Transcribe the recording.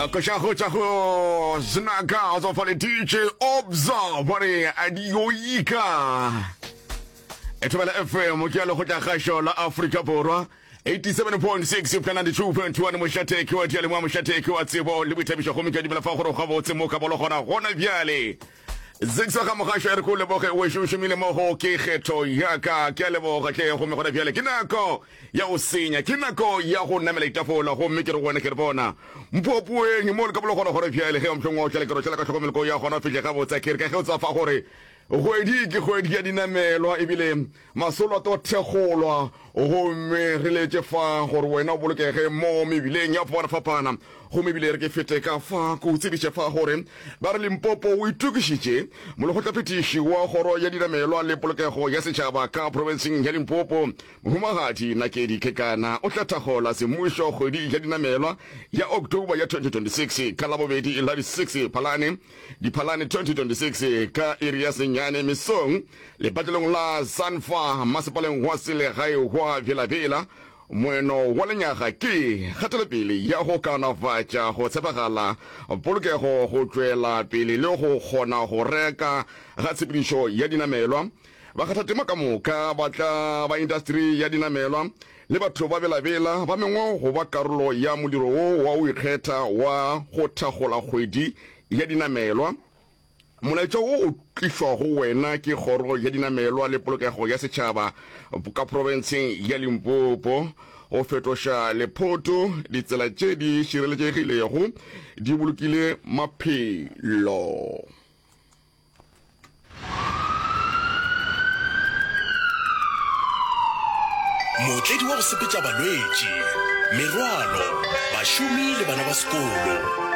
Koša go tša go znaka go tswa le DJ Obza ba re adioika. Thobela FM ke ya lekgotla kgašo la Afrika Borwa 87.6 go 92.1 mošate ke wa dialemoa mošate ke wa tsebo le boithabišo gomme ke a dumela fa gore gabotse mo ka bolo gona gona bjale. Zigzag ga mogašo e re ko leboge o ešo o šomile mo go ke kgetho ya ka ke a leboga hle gomme gona bjale ke nako ya go senya ke nako ya go namela ditafola gomme ke re go wena ke re bona mpopoeng mo le ka bolo gona gore bjale ge mohlong wa o tlale ke rošela ka tlhokomelo ko ya gona fihle gabotse ke re ka ge o tsa fa gore kgwedi ke kgwedi ya dinamelwa ebile Masolo a tlo thekgolwa gomme re letše fa gore wena o bolokege mo mebileng ya fapana-fapana. Gomme ebile re ke fete ka fa ke o tsebiše fa gore ba re Limpopo o itokišitše. Molekgotlaphethiši wa Kgoro ya Dinamelwa le Polokego ya Setšhaba ka profenseng ya Limpopo, Mohumagadi Nakedi Kekana o tla thakgola semmušo kgwedi ya dinamelwa ya October ya 2026 ka Labobedi la di 6 Phalane Diphalane 2026 ka iri ya senyane mesong lepatlelong la Sanfa masepaleng wa selegae wa Bela-Bela. Moeno wa lenyaga ke kgatelopele ya go kaonafatša go tshepagala, polokego, go tšwela pele le go kgona go reka ga tshepedišo ya dinamelwa. Bakgathatema ka moka ba tla ba intasteri ya dinamelwa le batho ba Bela-Bela ba mengwe go ba karolo ya modiro wo wa go ikgetha wa go thakgola kgwedi ya dinamelwa. Molaetša wo o tlišwa go wena ke Kgoro ya Dinamelwa le Polokego ya Setšhaba ka profenseng ya Limpopo. Go fetoša lephoto ditsela tše di šireletšegilego di bolokile maphelo. Mootledi wa go sepetša balwetši, merwalo, bašomi le bana ba sekolo.